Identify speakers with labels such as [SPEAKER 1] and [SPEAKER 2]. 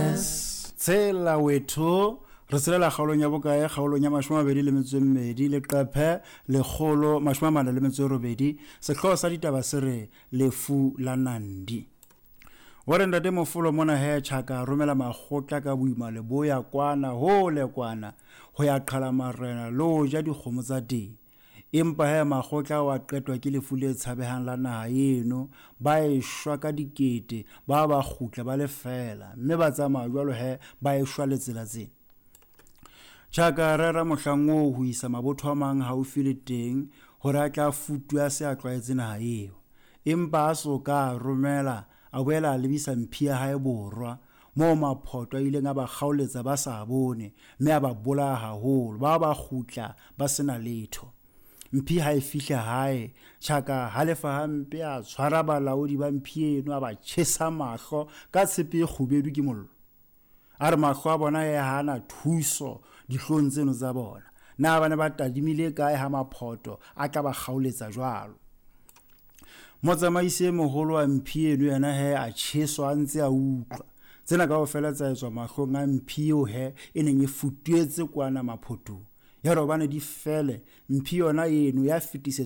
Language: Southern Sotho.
[SPEAKER 1] Yes.
[SPEAKER 2] Tshela wethu re tshelela kgaolong ya bokae? Kgaolong ya 22, leqephe 148. Sehlooho sa ditaba se re lefu la Nandi. Wa re ntate Mofolo mona he Tjhaka romela makgotla ka boima leboya kwana hole kwana ho ya qhala marena le ho ja dikgomo tsa teng. Empa he makgotla ao a qetwa ke lefu le tshabehang la naha eno, ba eshwa ka dikete, ba ba kgutla ba le feela, mme ba tsamaya jwalo he ba eshwa le tsela tsena. Tjhaka a rera mohlang oo ho isa mabotho a mang haufi le teng hore a tla futwe a se a tlwaetse naha eo. Empa a so ka a romela, a boela a lebisa mphi ya hae borwa, moo maphoto a ileng a ba kgaoletsa ba sa bone, mme a ba bolaya haholo, ba ba kgutla ba sena letho. Mphi ha e fihla hae, Tjhaka halefa hampe, a tshwara balaodi ba mphi eno, a ba tjhesa mahlo ka tshepe e kgubedu ke mollo. A re mahlo a bona e hana thuso dihlong tseno tsa bona. Na ba ne ba tadimile kae ha maphoto a tla ba kgaoletsa jwalo? Motsamaisi e moholo wa mphi eno yena he a tjheswa a ntse a utlwa. Tsena kaofela tsa etswa mahlong a mphi eo he e neng e futuetse kwana maphotong. Ya re hobane di fele, mphi yona eno ya fetisetswa